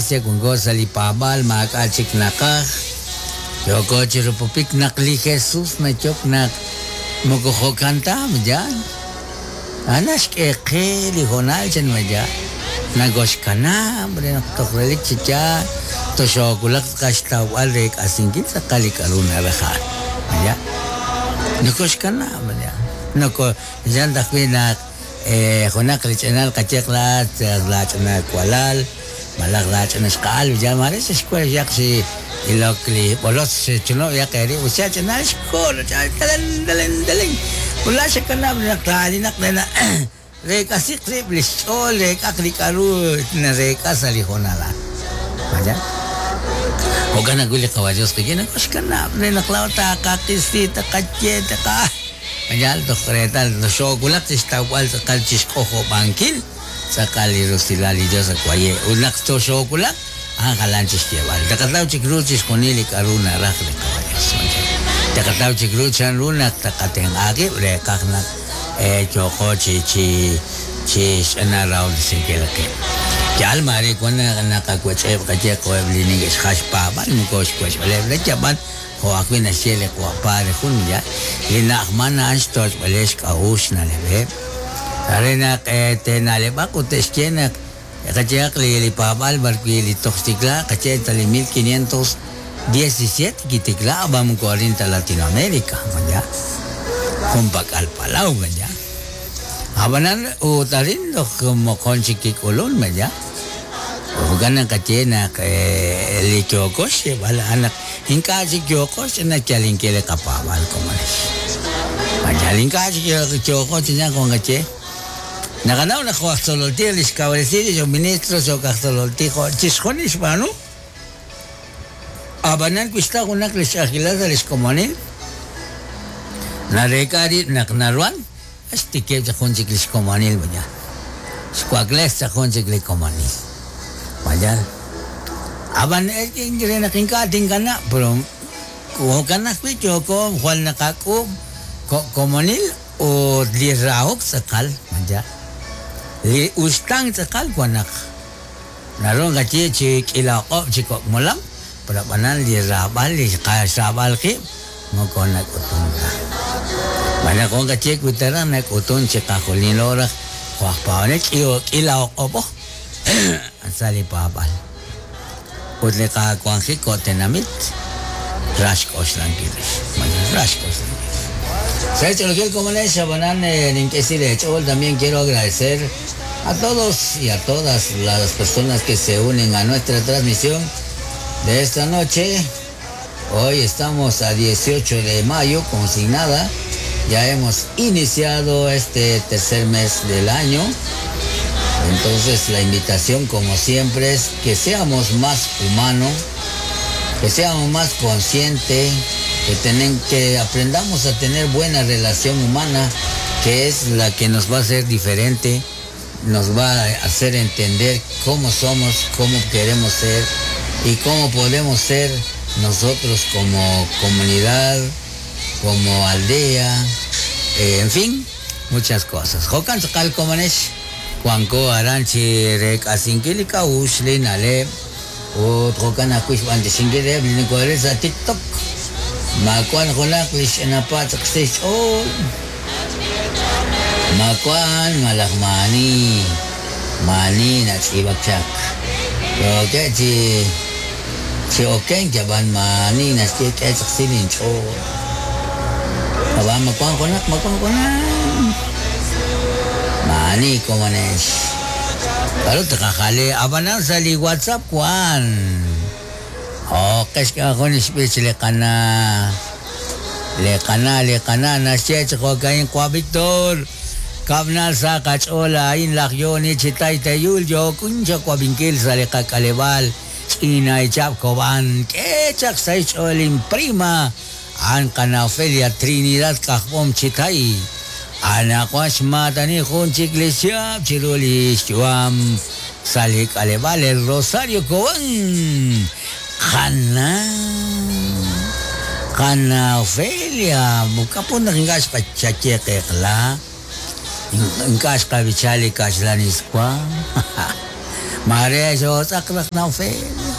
Iglesia, wanko sa' li paab'aal, maak'a' chik naqaj. Yooko chi rupupik naq li Jesus nayok naq moko jo'kan ta, ma yaal? A'an naxk'e qe li hoonal chan ma yaal? Nakoxkanab' re naq toj relik chi yaal toxoowulaq tz'aqal xtawb'al reek'asinkil tz'aqal li k'a'ru naraj a'an, ma yaal? Nokoxkanab', ma yaal? Noko, yaal ajwi' naq junaq li ch'inal qayeq laa'at laach'ina walal malaj laach'ina xqa'al yal maare xexwal yaq chi ilok li b'olotz xechunub' yaq eerib' ut xach'inal xko'l telen telen telen ut laa'at xakanab' naq taalinaq re naq reek'asiq rib' li xch'ool reek'aq li k'a'ru nareek'a sa' li hoonal a'an. Maya? Jo'kan ajwi' li Qawa' Dios qik'in nakoxkanab' re naq laa'o taqaqisi taqaye taqa Yaal toj reetal xoowulak chi xtawb'al tz'aqal chi xk'ojob'ankil tz'aqal li rusilal li Yos ak waye'. Ut naq toxoowulaq, a'an jalan chi xyeeb'al. Taqataw chik ru chixjunil li k'a'ru naraj li Qawa' Yos. Taqataw chik ru chan ru naq taqatenq'a qib' reeqaj naq yooqo chi chi chi xch'ina rahob'tesinkil qib'. Yaal maare wan naq naqawech'eb' qaye jo'eb' li neke'xjal xpaab'al moko xwech'b'aleb' ta yab'an Jo' ajwi' naxye li Qawa' Padre jun yaal, li na'ajman a'an xtoch'b'aleb' xk'a'uxl xna'leb'eb', re naq te'na'leb'aq ut te'xye naq qayehaq li paab'aal b'arwi' li toj xtikla qaye sa' li 1517 kitikla ab'an moko arin ta Latinoamerica, ma yaal? Junpak'al palaw, ma yaal? Ab'anan ut arin toj moqon chik kik'ulun, ma yaal? Jo'kan naq naqaye naq li yooko xyeeb'al a'an naq ink'a' chik yooqo ch'ina yalinkil li qapaab'aal komonex. Ma yal ink'a' chik yooqo ch'ina jo' naqaye? Naqanaw naq jo' aj tzolol tij li xkawresi rix jo' ministro cho'q aj tzolol tij jo' chixjunil xb'aanu. Ab'anan wi xtaw junaq li xch'a'ajkilal sa' li xkomonil, nareek'a rib' naq naruhan Xtikib' chaq jun chik li xkomonil mañana. Xwakles chaq jun chik li komonil. Mañana. Ab'an re naq ink'a' tinkanab', pero jo'kan ajwi' yooko jwal naqak'uub' ko' komonil ut li rahok tz'aqal, mañana. Li uxtaan tz'aqal wan naq naru naqaye chi k'iila oq'ob' chi kok' molam, pero ab'anan li raab'al, li qaxraab'al qib' Moko nak'utun ta. Xb'aan naq wan qaye wi ta raj nak'utun chiqajunilo raj jo' aj paab'anel k'iila oq'ob'o sa' li paab'al. Ut li qawanjik jo' tenamit ra xk'oxlankil rix. Ra xk'oxlankil rix. Sa' xch'oolil komonex, ab'anan nink'e si leech'ool también quiero agradecer a todos y a todas las personas que se unen a nuestra transmisión de esta noche. Hoy estamos a 18 de mayo, consignada. Ya hemos iniciado este tercer mes del año. Entonces la invitación, como siempre, es que seamos más humanos, que seamos más conscientes, que, tenen, que aprendamos a tener buena relación humana, que es la que nos va a hacer diferente, nos va a hacer entender cómo somos, cómo queremos ser y cómo podemos ser nosotros como comunidad, como aldea, eh, en fin, muchas cosas. Jo'kan tz'aqal komonex, wanko aran chi reek'asinkil li k'a'uxl, li na'leb', ut jo'kan ajwi' xb'antixinkil reheb' li nokooril sa' TikTok. Ma wan junaq li xch'ina patz' qsi xch'ool? Ma wan malaj maa'ani, maa'ani natz'iib'ak chaq. Yookeb' chi chi okenk ab'an maa'ani naxye k'e chaq si linch'ool. Ab'an ma wan junaq, ma wan junaq. Maa'ani komonex. K'aru tqajal? Ab'anan sa' li WhatsApp wan. Jo'q'e xk'e jun li xb'ich li qana' li qana' li qana' naxye chi jo'ka'in Qwa' Víctor, Kab'nal sa' qach'ool a'in laj Yoni chi Taytayul yookun chawab'inkil sa' li qak'aleb'aal Ch'inaychab' Kob'an k'e chaq sa' xch'ool inprima a'an qana' Ofelia Trinidad K'ajb'om Chitay anaqwan xmaatani jun chik li xchihab' chiru li xyu'am Sa' li k'aleb'aal El Rosario Cobán, qana' qana' Ofelia, k'a'put naq ink'a' xqaye qeqla, ink'a' xqab'icha li kaxlan iswa. Maare xootz'aq raj Naufel.